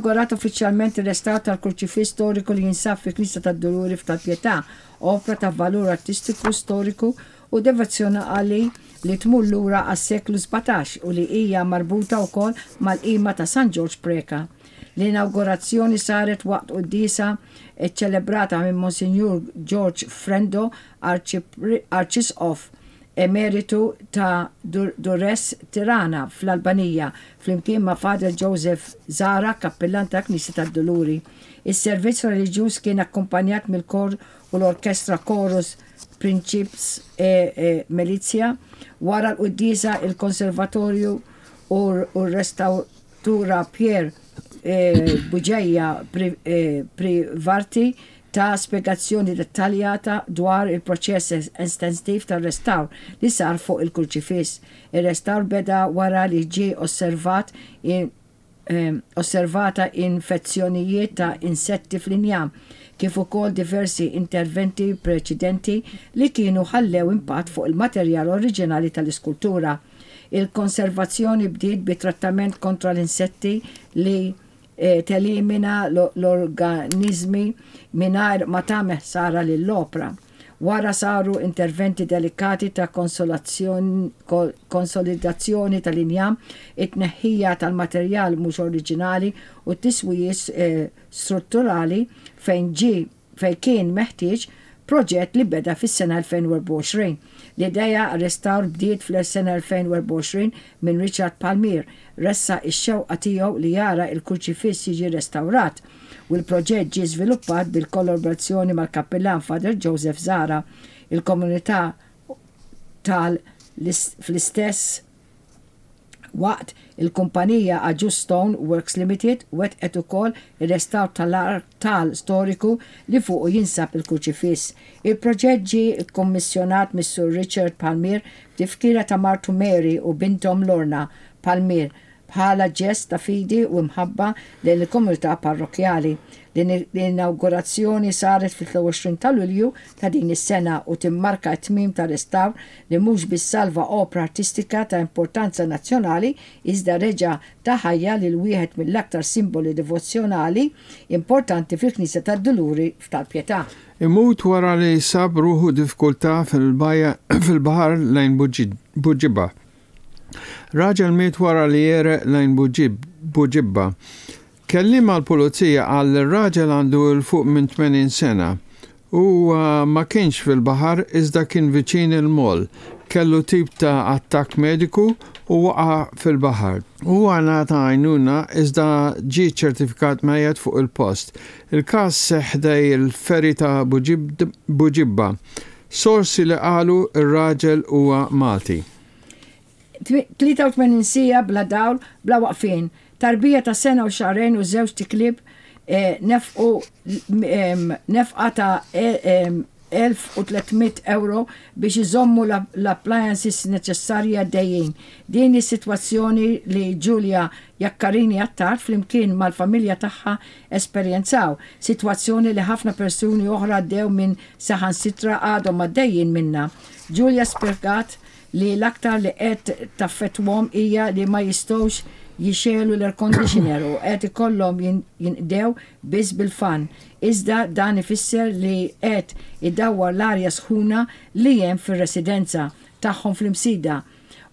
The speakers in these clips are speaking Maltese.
inawgurat uffiċjalment ir-restawr tal-Kurċifiss storiku li jinsab fil-Knisja tad-Duluri f'Tal-Pietà, opra ta' valur artistiku, storiku u devozzjonali li tmur lura għas-seklu 17 u li hija marbuta wkoll mal-qima ta' San Ġorġ Preca. L-inawgurazzjoni saret waqt quddiesa ċċelebrata minn Monsinjur George Frendo, Arċisqof Emeritu ta' Durrës Tirana fl-Albanija, flimkien ma' Father Joseph Zahra, Kappillan tal-Knisja tad-Duluri. Is-servizz reliġjuż kien akkumpanjat mill-kor u l-orkestra Chorus Principis e Militia. Wara l-quddiesa, il-Konservatorju u r-restawtura Pierre Bugeja Privarti ta spjegazzjoni dettaljata dwar il-proċess estensiv tar-restawr li sar fuq il-kurċifiss. Ir-restawr beda wara li ġie osservat osservata infezzjonijiet ta' insetti fl-injam, kif ukoll diversi interventi preċedenti li kienu ħallew impatt fuq il-materjal oriġinali tal-iskultura. Il-konservazzjoni bdiet bi trattament kontra l-insetti li telimina l-organiżmi mingħajr ma tagħmel ħsara lill-opra. Wara saru interventi delikati ta' konsolidazzjoni tal-injam, it-tneħħija tal-materjal mhux oriġinali u t-tiswijiet strutturali fejn ġie fejn kien meħtieġ, proġett li beda fis-sena 2024. L-idea għar-restawr bdiet fl-sena 2024 minn Richard Palmier, ressaq ix-xewqa tiegħu li jara l-kurċifiss jiġi restawrat u l-proġett ġie żviluppat bil-kollaborazzjoni mal-Kappillan Father Joseph Zahra. Il-komunità tal Fl-istess waqt, il-kumpanija Agius Stone Works Limited wettqet ukoll ir-restawr tal-artal storiku li fuqu jinsab il-kurċifiss. Il-proġett ġie kkummissjonat mis-Sur Richard Palmier b'tifkira ta' martu Mary u binthom Lorna Palmier bħala ġest ta' fidi u imħabba lejn il-komunità parrokkjali. L-inawgurazzjoni saret fil-23 ta' Lulju ta' din is-sena u timmarka t-tmiem ta' restawr li mhux biss salva opra artistika ta' importanza nazzjonali iżda reġa' ta ħajja lil wieħed mill-aktar simboli devozzjonali importanti fil-Knisja tad-Duluri f'Tal-Pietà. Imut wara li sab ruħu diffikultà fil-baħar lejn Buġibba. Raġel miet wara li għereq lejn Buġibba. Kelliem għall-Pulizija qal li r-raġel għandu 'l fuq minn 80 sena. Huwa ma kienx fil-baħar iżda kien viċin il-moll. Kellu tip ta' attakk mediku u waqa' fil-baħar. Huwa ngħata għajnuna iżda ġie ċċertifikat mejjet fuq il-post. Il-każ seħħ ħdej il-ferry ta' Buġibba. Sorsi li qalu r-raġel huwa Malti. 83 siegħa bla dawl, bla waqfien. Tarbija ta' sena u xahrejn u żewġt iklieb nefqu nefqa ta' 1,300 ewro biex iżommu l-appliances neċessarji għaddejjin. Din hi s-sitwazzjoni li Julia Jaccarini Attard flimkien mal-familja tagħha esperjenzaw, sitwazzjoni li ħafna persuni oħra għaddew minn saħansitra għadhom għaddejjin minnha. Julia spjegat li l-aktar li qed taffettwhom hija li ma jistgħux jixegħlu l-air conditioner u qed ikollhom jinqdew biss bil-fan. Iżda dan ifisser li qed idawwar l-arja sħuna li hemm fir-residenza tagħhom fl-Imsida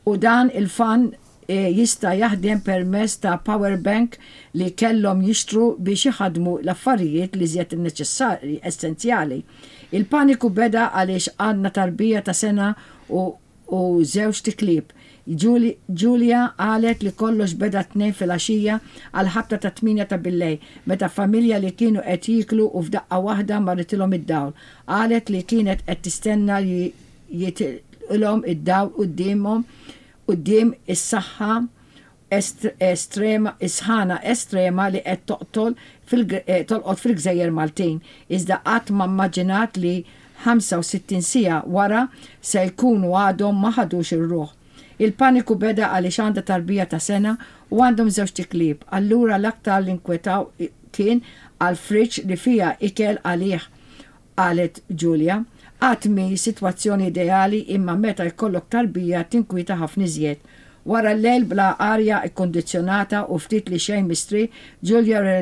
u dan il-fan jista' jaħdem permezz ta' power bank li kellhom jixtru biex iħaddmu l-affarijiet l-iżjed neċessarji, essenzjali. Il-paniku beda għaliex għandna tarbija ta' sena u u żewġt iklieb. Julia qalet li kollox beda t-Tnejn filgħaxija għall-ħabta tat-tmienja ta' billejl meta familja li kienu qed jieklu u f'daqqa waħda marritilhom id-dawl. Qalet li kienet qed tistenna li jitilqilhom id-dawl quddiemhom quddiem is-saħħa estrema is-sħana estrema li qed toqtol tolqot fil-gżejjer Maltin, iżda qatt ma mmaġinat li 65 siegħa wara se jkunu għadhom ma ħadux ir-ruħ. Il-paniku beda għaliex għandha tarbija ta' sena u għandhom żewġt iklieb, allura l-aktar li nkwetaw kien għall-fridge li fiha ikel għalih qalet Julia. Qatt mhi sitwazzjoni ideali imma meta jkollok tarbija tinkwieta ħafna iżjed. Wara l-lejl bla arja kkundizzjonata u ftit li xejn mistrieħ, Julia.